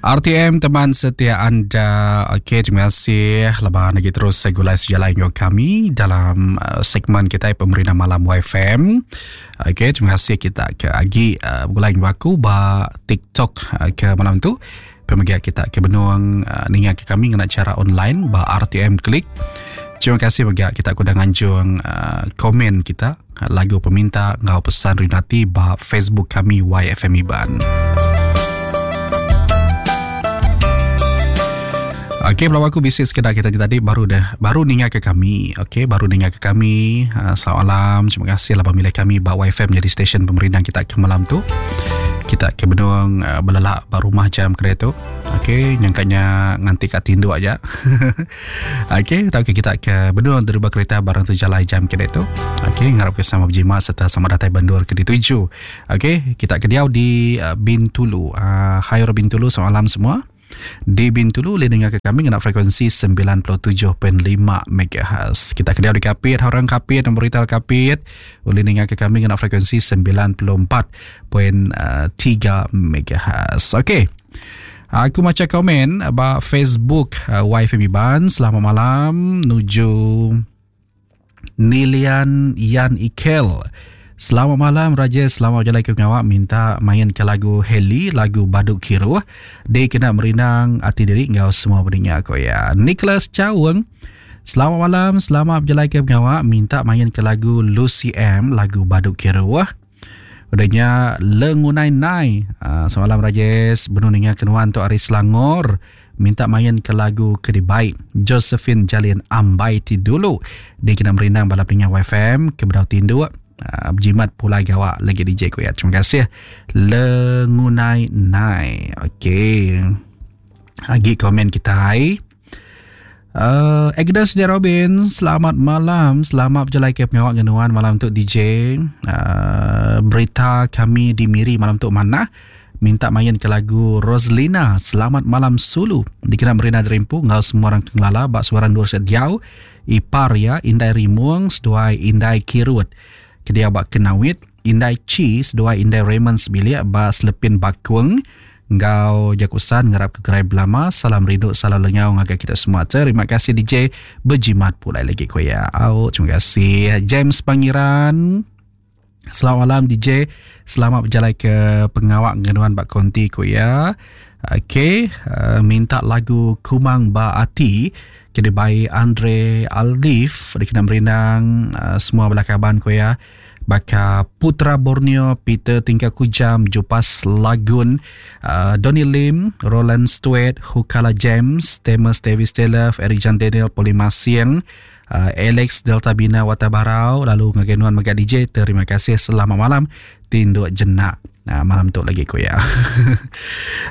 RTM teman setia anda. Okey, terima kasih laban lagi terus segulai sejalai enggau kami dalam uh, segmen kita Pemerintah Malam YFM. Okey, terima kasih kita ke agi uh, begulai enggau aku ba TikTok uh, ke malam tu. Pemega kita ke benung uh, ninga ke kami ngena cara online ba RTM Klik. Terima kasih mega kita ke udah nganjung uh, komen kita lagu peminta enggau pesan rinati ba Facebook kami YFM Iban. Okey, belawa aku bisi sekeda kita tadi baru dah baru ninga ke kami. Okey, baru ninga ke kami. Uh, selamat malam. Terima kasih lah pemilih kami ba YFM jadi stesen pemerindang kita ke malam tu. Kita ke benung uh, belelak ba rumah jam kedai tu. Okey, nyangkanya nganti kat tinduk aja. Okey, tauka kita ke benung deriba kereta barang tu jalai jam ke tu. Okey, ngarap ke sama berjimat serta sama datai bandur ke dituju. Okey, kita ke diau di uh, Bintulu. Uh, hai orang Bintulu, selamat malam semua. Di Bintulu boleh dengar ke kami ngena frekuensi 97.5 MHz. Kita ke diau di Kapit, orang Kapit, nombor retail Kapit, boleh dengar ke kami ngena frekuensi 94.3 MHz. Okey. Aku macha komen ba Facebook uh, YFM Iban. Selamat malam nuju Nilian Yan Ikel. Selamat malam Raja, selamat berjalan ke pengawak minta main ke lagu Heli, lagu Baduk Kiruh. Di kena merindang ati diri enggau semua pendengar ko ya. Nicholas Chaung. Selamat malam, selamat berjalan ke pengawak minta main ke lagu Lucy M, lagu Baduk Kiruh. Udah nya Lengunai Nai. Uh, semalam Rajes benung ninga ke nuan tu ari Selangor minta main ke lagu ke dibai Josephine Jalin Ambai ti dulu dikena merindang bala peninga YFM ke bedau tinduk uh, bejimat pulai gawa lagi DJ ku ya. Terima kasih Lengunai Nai. Okey. Agi komen kitai. Uh, Agnes J. Robin, selamat malam. Selamat berjalai ke pengawak ngenuan malam tu DJ. Uh, berita kami di Miri malam tu mana? Minta main ke lagu Roslina, Selamat Malam Sulu. Dikena Merina Derimpu, ngau semua orang kengelala, bak suara Nur Set Diau, Ipar ya, Indai Rimung, seduai Indai Kirut. Kedia bak Kenawit, Indai Chi seduai Indai Raymond sebilik ba Selepin Bakung enggau jaku san ngarap ke gerai belama. Salam rindu, salam lengau ngagai kita semua. Terima kasih DJ berjimat pulai lagi ko ya. Au, terima kasih James Pangiran. Selamat malam DJ. Selamat berjalai ke pengawak ngenuan bak konti ko ya. Okey, uh, minta lagu Kumang Ba Ati ke dibai Andre Alif dikena merindang uh, semua bala kaban ko ya. Baka Putra Borneo, Peter Tingka Kujam, Jupas Lagun, uh, Donny Lim, Roland Stewart, Hukala James, Thomas Davis Taylor, Eric Jan Daniel, Poli Masiang, uh, Alex Delta Bina Watabarau, lalu ngagai nuan mega DJ, terima kasih selamat malam, tinduk jenak. Nah, malam tu lagi ku ya.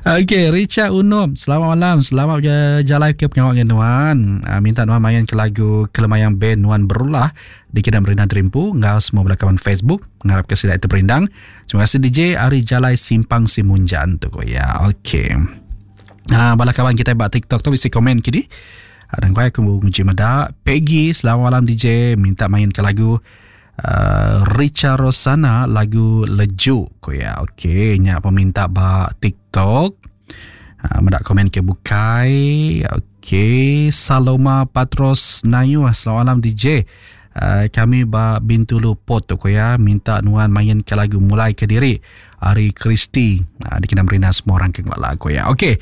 Okey, Richard Unum, selamat malam, selamat berjalan ke pengawak dengan nuan. Uh, minta nuan main ke lagu Kelemayang Band Nuan Berulah dikena merindang terimpu enggau semua bala kawan Facebook ngarap ke sida itu perindang. Terima kasih DJ ari Jalai Simpang Simunjan tu ku ya. Okey. Uh, bala kawan kita ba TikTok tu bisi komen kini. Dan kau aku nguji meda Peggy, selamat malam DJ, minta main ke lagu Uh, Richa Rosana lagu Lejuk ko ya. Okey, nya peminta ba TikTok. Uh, meda komen ke bukai. Okey, Saloma Patros Nayu, selamat malam DJ. Uh, kami ba Bintulu Port tu ko ya, minta nuan main ke lagu Mulai ke Diri ari Christy. Uh, dikena merina semua orang ke ngelala ko ya. Okey.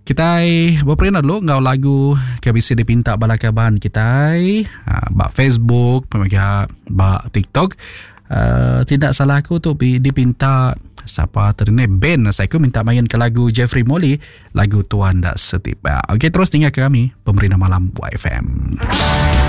Kitai beperindang dulu enggau lagu ke bisi dipinta bala kaban kitai ha, ba Facebook mega ba TikTok. Uh, tidak salah aku tu dipinta siapa tadi ni Ben saya aku minta main ke lagu Jeffrey Molly lagu Tuan Dak Setipak. Okey terus tinggal ke kami Pemerintah Malam YFM.